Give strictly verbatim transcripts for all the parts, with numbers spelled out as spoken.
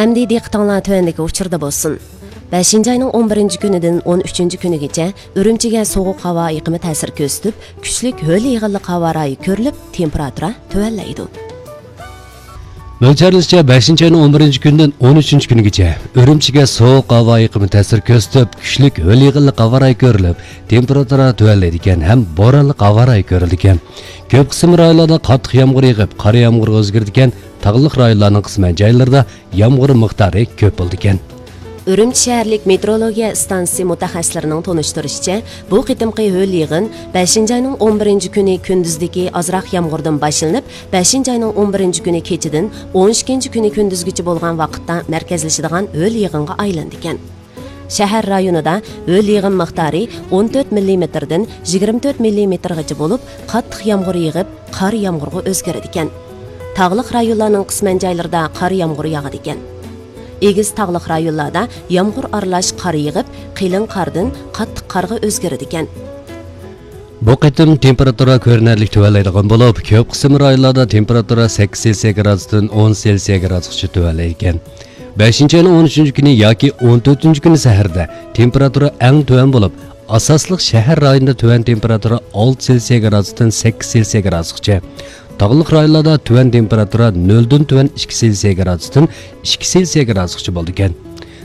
ئەمدى دىققىتىڭلار تۆۋەندىكى ئۇچۇردا بولسۇن. بەشىنچى ئاينىڭ ئون بىرىنچى كۈنىدىن ئون ئۈچىنچى كۈنىگىچە ئۈرۈمچىگە سوغۇق ھاۋا ئېقىمى تەسىر كۆرسىتىپ، كۈچلۈك ھۆل يېغىنلىق ھاۋا رايى كۆرۈلۈپ، تېمپېراتۇرا تۆۋەنلەيدۇ. مۆلچەرلىشىچە، بەشىنچى ئاينىڭ ئون بىرىنچى كۈنىدىن ئون ئۈچىنچى كۈنىگىچە ئۈرۈمچىگە سوغۇق ھاۋا ئېقىمى تەسىر كۆرسىتىپ، كۈچلۈك ھۆل يېغىنلىق ھاۋا رايى كۆرۈلۈپ، تېمپېراتۇرا تۆۋەنلەيدىكەن ھەم بورانلىق ھاۋا رايى كۆرۈلىدىكەن. كۆپ قىسىم رايونلاردا قاتتىق يامغۇر يېغىپ، قار يامغۇرغا ئۆزگىرىدىكەن. تاغلىق رايونلارنىڭ قىسمەن جايلىرىدا يامغۇر مىقدارى كۆپ بولىدىكەن. ئۈرۈمچى شەھەرلىك مېتېئورولوگىيە ئىستانسىسى مۇتەخەسسىسلىرىنىڭ تونۇشتۇرۇشىچە، بۇ قېتىمقى ھۆل يېغىن بەشىنچى ئاينىڭ ئون بىرىنچى كۈنى كۈندۈزدىكى ئازراق يامغۇردىن باشلىنىپ، بەشىنچى ئاينىڭ ئون بىرىنچى كۈنى كېچىدىن ئون ئىككىنچى كۈنى كۈندۈزگىچە بولغان ۋاقىتتا مەركەزلىشىدىغان ھۆل يېغىنغا ئايلىنىدىكەن. شەھەر رايونىدا ھۆل يېغىن مىقدارى ئون تۆت مىللىمېتىردىن يىگىرمە تۆت مىللىمېتىرغىچە بولۇپ، قاتتىق يامغۇر يېغىپ، قار يامغۇرغا ئۆزگىرىدىكەن. تاغلىق رايونلارنىڭ قىسمەن جايلىرىدا قار يامغۇر ياغىدىكەن. ئېگىز تاغلىق رايونلاردا يامغۇر ئارىلاش قار يېغىپ، قېلىن قاردىن قاتتىق قارغا ئۆزگىرىدىكەن. بۇ قېتىم تېمپېراتۇرا كۆرۈنەرلىك تۆۋەنلەيدىغان بولۇپ، كۆپ قىسىم رايونلاردا تېمپېراتۇرا سەككىز سېلسىيە گرادۇستىن ئون سېلسىيە گرادۇسقىچە تۆۋەنلەيدىكەن. بەشىنچى ئاينىڭ ئون ئۈچىنچى كۈنى ياكى ئون تۆتىنچى كۈنى سەھەردە تېمپېراتۇرا ئەڭ تۆۋەن بولۇپ، ئاساسلىق شەھەر رايونىدا تۆۋەن تېمپېراتۇرا ئالتە سېلسىيە گرادۇستىن سەككىز سېلسىيە گرادۇسقىچە، تاغلىق رايونلاردا تۆۋەن تېمپېراتۇرا نۆلدىن تۆۋەن ئىككى سېلسىيە گرادۇستىن ئىككى سېلسىيە گرادۇسقىچە بولىدىكەن.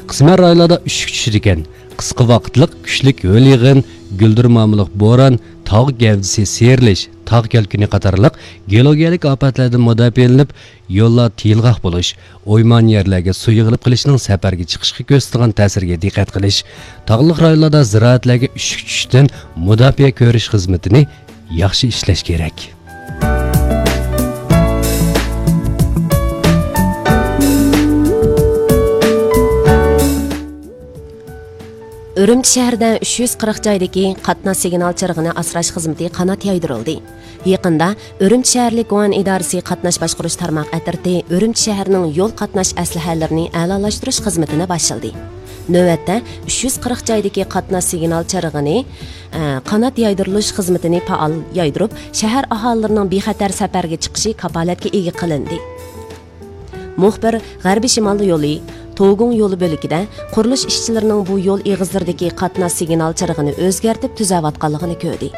قىسمەن رايونلاردا ئۈششۈك چۈشىدىكەن. قىسقا ۋاقىتلىق كۈچلۈك ھۆل يېغىن، گۈلدۈرمامىلىق بوران، تاغ گەۋدىسى سىيرىلىش، تاغ كەلكۈنى قاتارلىق گېئولوگىيەلىك ئاپەتلەردىن مۇداپىئەلىنىپ، يوللار تىيىلغاق بولۇش، ئويمان يەرلەرگە سۇ يىغىلىپ قېلىشنىڭ سەپەرگە چىقىشقا كۆرسىتىدىغان تەسىرىگە دىققەت قىلىش، تاغلىق رايونلاردا زىرائەتلەرگە ئۈششۈك چۈشۈشتىن مۇداپىئە كۆرۈش خىزمىتىنى ياخشى ئىشلەش كېرەك. ئۈرۈمچى شەھىرىدە ئۈچ يۈز قىرىق جايدىكى قاتناش سىگنال چىرىغىنى ئاسراش خىزمىتى قانات يايدۇرۇلدى. يېقىندا ئۈرۈمچى شەھەرلىك گۇەن ئىدارىسى قاتناش باشقۇرۇش تارماق ئەترىتى ئۈرۈمچى شەھىرىنىڭ يول قاتناش ئەسلىھەلىرىنى ئەلالاشتۇرۇش خىزمىتىنى باشلىدى. نۆۋەتتە ئۈچ يۈز قىرىق جايدىكى قاتناش سىگنال چىرىغىنى، ئە، قانات يايدۇرۇلۇش خىزمىتىنى پائال يايدۇرۇپ، شەھەر ئاھالىلىرىنىڭ بىخەتەر سەپەرگە چىقىشى كاپالەتكە ئىگە قىلىندى. مۇخبىر غەربىي شىمال يولى، توگۇڭ يولى بۆلىكىدە قۇرۇلۇش ئىشچىلىرىنىڭ بۇ يول ئېغىزلىرىدىكى قاتناش سىگنال چىرىغىنى ئۆزگەرتىپ تۈزەۋاتقانلىقىنى كۆردى.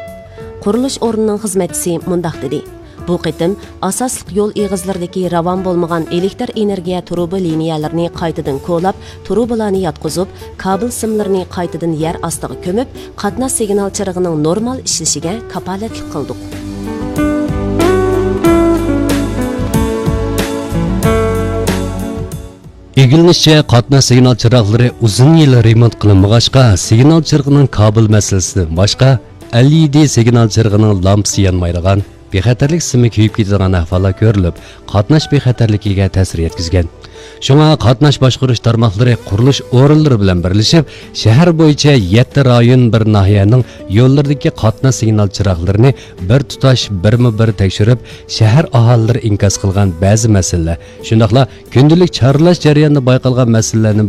قۇرۇلۇش ئورنىنىڭ خىزمەتچىسى مۇنداق دېدى: بۇ قېتىم ئاساسلىق يول ئېغىزلىرىدىكى راۋان بولمىغان ئېلېكتر ئېنېرگىيە تۇرۇبا لىنىيەلىرىنى قايتىدىن كولاپ، تۇرۇبىلارنى ياتقۇزۇپ، كابېل سىملىرىنى قايتىدىن يەر ئاستىغا كۆمۈپ، قاتناش سىگنال چىرىغىنىڭ نورمال ئىشلىشىگە كاپالەتلىك قىلدۇق. ئىگىلىنىشىچە، قاتناش سىگنال چىراغلىرى ئۇزۇن يىل رېمونت قىلىنمىغاچقا، سىگنال چىرىغىنىڭ كابېل مەسىلىسىدىن باشقا، ئەل ئى دى سىگنال چىرىغىنىڭ لامپىسى يانمايدىغان، بىخەتەرلىك سىمى كۆيۈپ كېتىدىغان ئەھۋاللار كۆرۈلۈپ، قاتناش بىخەتەرلىكىگە تەسىر يەتكۈزگەن. شۇڭا قاتناش باشقۇرۇش تارماقلىرى قۇرۇلۇش ئورۇنلىرى بىلەن بىرلىشىپ، شەھەر بويىچە يەتتە رايون، بىر ناھىيەنىڭ يوللىرىدىكى قاتناش سىگنال چىراغلىرىنى بىر تۇتاش بىرمۇ بىر تەكشۈرۈپ، شەھەر ئاھالىلىرى ئىنكاس قىلغان بەزى مەسىلىلەر، شۇنداقلا كۈندىلىك چارلاش جەريانىدا بايقالغان مەسىلىلەرنى بىر